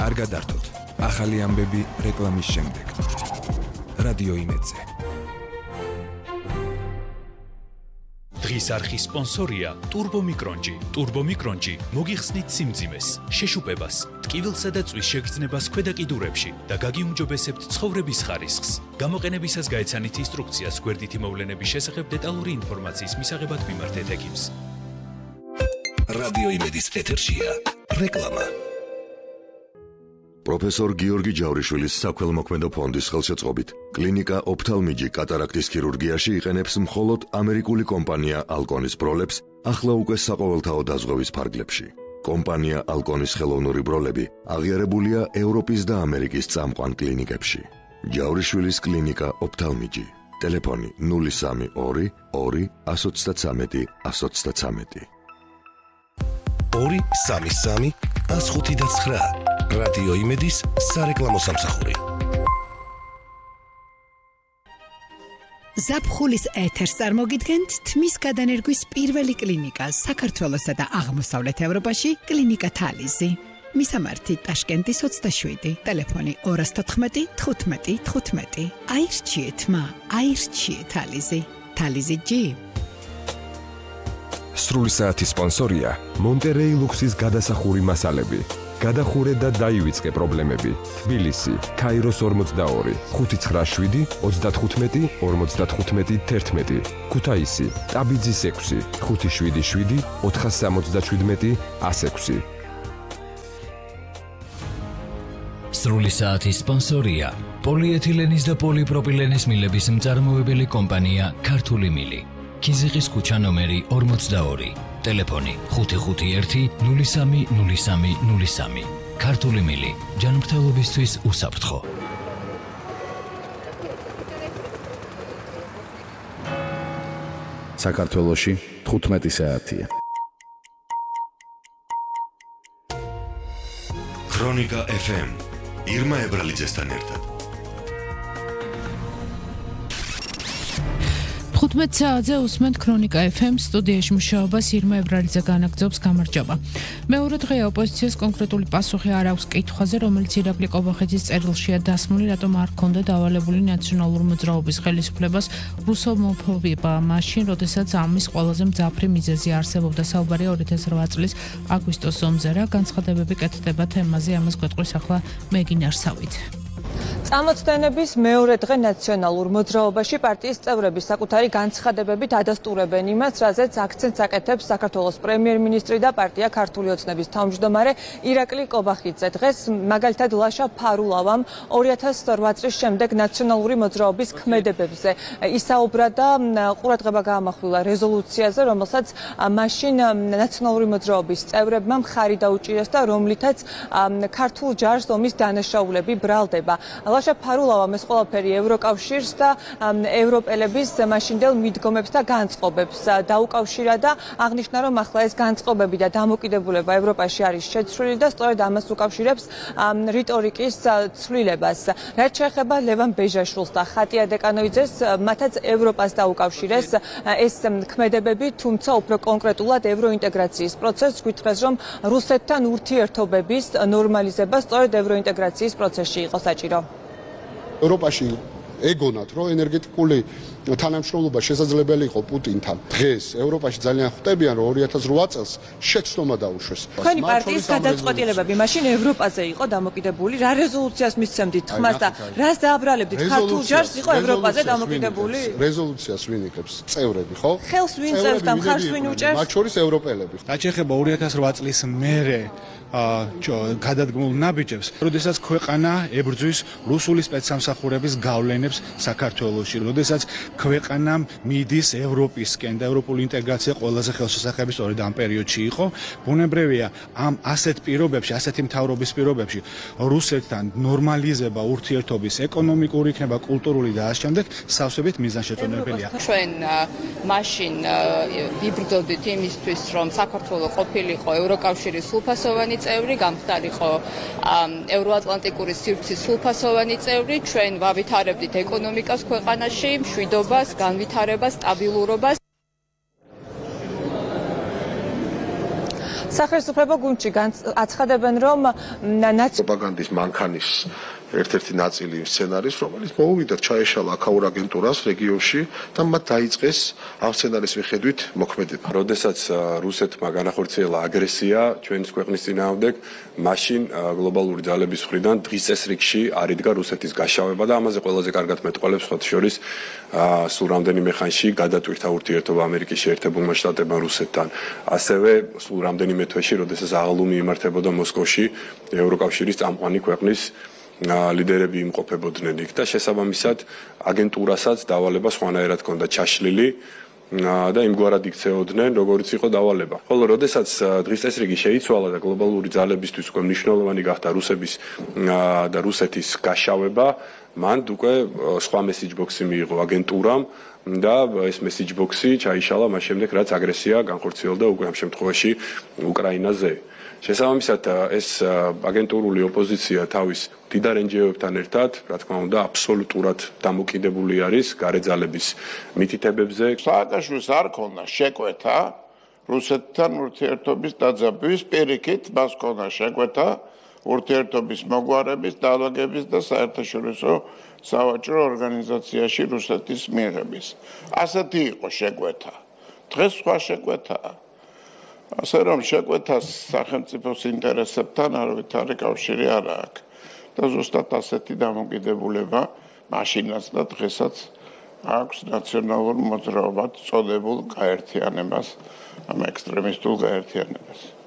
კარგად ართოთ. ახალი ამბები რეკლამის შემდეგ. რადიო იმედზე. დღის არხის სპონსორია ტურბომიკრონჯი. ტურბომიკრონჯი მოგიხსნით სიმძიმეს, შეშუპებას, ტკივილსა და წვის შეგრძნებას ქვედა კიდურებში და გაგიუმჯობესებთ ცხოვრების ხარისხს. გამოყენებისას გაეცანით ინსტრუქციას გვერდითი მოვლენების შესახებ დეტალური ინფორმაციის მისაღებად მიმართეთ ექიმს. რადიო იმედის ეთერშია რეკლამა. პროფესორ გიორგი ჯავრიშვილის საქველმოქმედო ფონდის ხელშეწყობით კლინიკა ოფთალმიჯი კატარაქტის ქირურგიაში იყენებს მხოლოდ ამერიკული კომპანია ალკონის ბროლებს ახლა უკვე საყოველთაო დაზღვევის ფარგლებში. კომპანია ალკონის ხელოვნური ბროლები აღიარებულია ევროპის და ამერიკის წამყვან კლინიკებში. ჯავრიშვილის კლინიკა ოფთალმიჯი. ტელეფონი 032 2 133 133. 233 159. რადიო იმედის სარეკლამო სამსახური. ზაფხულის ეთერს წარმოგიდგენთ თმის გადანერგვის პირველი კლინიკა საქართველოსა და აღმოსავლეთ ევროპაში კლინიკა თალიზი. მისამართი ტაშკენტის 27, ტელეფონი 214 15 15. აირჩიეთ მა, აირჩიეთ თალიზი. თალიზი G. სრული საათის სპონსორია მონტერეი ლუქსის გადასახური მასალები. გადახურე და დაივიწყე პრობლემები. თბილისი, ქაიროს 42, 597 35 55 11. ქუთაისი, ტაბიძის 6, 577 477 106. სრული საათის სპონსორია პოლიეთილენის და პოლიპროპილენის მილების მწარმოებელი კომპანია ქართული მილი. ქიზიყის ქუჩა ნომერი 42. ტელეფონი 551 03 03 03. ქართული მილი, ჯანმრთელობისთვის უსაფრთხო. საქართველოში 15 საათია. ქრონიკა FM. ირმა ებრალიძესთან ერთად. 15 საათზე უსმენთ ქრონიკა FM სტუდიაში მუშაობას ირმა ებრალიძე განაგრძობს. გამარჯობა. მეორე დღეა ოპოზიციას კონკრეტული პასუხი არ აქვს კითხვაზე, რომელიც ირაკლი ყობახიძის წერილშია დასმული, რატომ არ ჰქონდა დავალებული ნაციონალური მოძრაობის ხელისუფლებას რუსოფობია მაშინ, როდესაც ამის ყველაზე მძაფრი მიზეზი არსებობდა. საუბარია 2008 წლის აგვისტოს ომზე. რა განცხადებები კეთდება თემაზე, ამას გვეტყვის ახლა მეგინარსავით. წამოწდენების მეორე დღე ნაციონალურ მოძრაობაში პარტიის წევრები საკუთარი განცხადებებით ადასტურებენ იმას, რაზეც აქცენტს აკეთებს საქართველოს პრემიერ-მინისტრი და პარტია ქართული ოცნების თავმჯდომარე ირაკლი ყობახიძე. დღეს მაგალითად ლაშა ფარულავამ 2008 წლის შემდეგ ნაციონალური მოძრაობის ქმედებებზე ისაუბრა და ყურადღება გაამახვილა რეზოლუციაზე, რომელსაც მაშინ ნაციონალური მოძრაობის წევრებმა მხარი დაუჭირეს და რომლითაც ქართულ ჯარს ომის დანაშაულები ბრალდება. ლაშა ფარულავამ ეს ყველაფერი ევროკავშირს და ევროპელების მაშინდელ მიდგომებს და განწყობებს დაუკავშირა და აღნიშნა, რომ ახლა ეს განწყობები და დამოკიდებულება ევროპაში არის შეცვლილი და სწორედ ამას უკავშირებს რიტორიკის ცვლილებას. რაც შეეხება ლევან ბეჟაშვილს და ხატია დეკანოიძეს, მათაც ევროპას დაუკავშირეს ეს ქმედებები, თუმცა უფრო კონკრეტულად ევროინტეგრაციის პროცესს გვითხრეს, რომ რუსეთთან ურთიერთობების ნორმალიზება სწორედ ევროინტეგრაციის პროცესში იყო საჭირო. ევროპაში ეგონათ, რომ ენერგეტიკული თანამშრომლობა შესაძლებელი იყო პუტინთან. დღეს ევროპაში ძალიან ხვდებიან, რომ 2008 წელს შეცდომა დაუშვეს. თქვენი პარტიის გადაწყვეტილებები მაშინ ევროპაზე იყო დამოკიდებული. რა რეზოლუციას მისცემდით ხმას და რას დააბრალებდით? ქართულ ჯარს იყო ევროპაზე დამოკიდებული? რეზოლუციას ვინ იკებს? წევრები, ხო? ხელს ვინ წერს და მხარს ვინ უჭერს? მათ შორის ევროპელები. რაც შეეხება 2008 წლის მერე გადადგმულ ნაბიჯებს, როდესაც ქვეყანა ებრძვის რუსული სპეცსამსახურების გავლენებს საქართველოში, როდესაც ქვეყანამ მიდის ევროპისკენ და ევროპული ინტეგრაცია ყველაზე ხელშესახები სწორედ ამ პერიოდში იყო. ბუნებრივია, ამ ასეთ პირობებში, ასეთი მთავრობის პირობებში რუსეთთან ნორმალიზება ურთიერთობის ეკონომიკური იქნება, კულტურული და ამ შემდეგ სავსებით მიზანშეწონებელია. ჩვენ მაშინ ვიბრძოდით იმისთვის, რომ საქართველოს ყოფილიყო ევროკავშირის სრულფასოვანი წევრი, გამხდარიყო ევროატლანტიკური სივრცის სრულფასოვანი წევრი, ჩვენ ვავითარებდით ეკონომიკას ქვეყანაში, მშვიდობას, განვითარებას, სტაბილურობას. სახელმწიფო გუნდში აცხადებენ, რომ პროპაგანდის მანქანის ერთ-ერთი ნაწილი სცენარის, რომელიც მოუვიდა ჩაეშალა აქაურ აგენტურას რეგიონში და მათ დაიწყეს ამ სცენარის მიხედვით მოქმედება. როდესაც რუსეთმა განახორციელა აგრესია ჩვენის ქვეყნის წინააღმდეგ, მაშინ გლობალური ძალების მხრიდან დღის წესრიგში არიდგა რუსეთის გაშავება და ამაზე ყველაზე კარგად მეტყველებს სხვა შორის სულ რამდენიმე ხანში გადატვირთა ურთიერთობა ამერიკის შეერთებულმა შტატებმა რუსეთთან. ასევე სულ რამდენიმე თვეში, როდესაც აღლუმი იმართებოდა მოსკოვში ევროკავშირის წამყვანი ქვეყნის ლიდერები იმყოფებოდნენ იქ და შესაბამისად აგენტურასაც დავალება სხვანაირად ჰქონდა ჩაშლილი და იმგვარად იქცეოდნენ, როგორც იყო დავალება. ხოლო როდესაც დღის წესრიგი შეიცვალა და გლობალური ძალებისთვის უკვე მნიშვნელოვანი გახდა რუსების და რუსეთის გაშავება, მან უკვე სხვა მესიჯ ბოქსი მიიღო აგენტურამ და ეს მესიჯ ბოქსი ჩაიშალა მას შემდეგ, რაც აგრესია განხორციელდა უკვე ამ შემთხვევაში უკრაინაზე. შესაბამისად ეს აგენტურული ოპოზიცია თავის მდიდარ NGO-ებთან ერთად, რა თქმა უნდა, აბსოლუტურად დამოკიდებული არის გარე ძალების მითითებებზე. სააკაშვილს არ ქონდა შეკვეთა რუსეთთან ურთიერთობის დაძაბვის პირიქით, მას ქონდა შეკვეთა ურთიერთობის მოგვარების, დალაგების და საერთაშორისო სავაჭრო ორგანიზაციაში რუსეთის მიღების. ასეთი იყო შეკვეთა. დღეს სხვა შეკვეთაა. ასე რომ შეკვეთას სახელმწიფოს ინტერესებთან არავითარი კავშირი არ აქვს და ზუსტად ასეთი დამოკიდებულება მაშინაც და დღესაც აქვს ნაციონალურ მოძრაობად წოდებულ გაერთიანებას, ამ ექსტრემისტულ გაერთიანებას.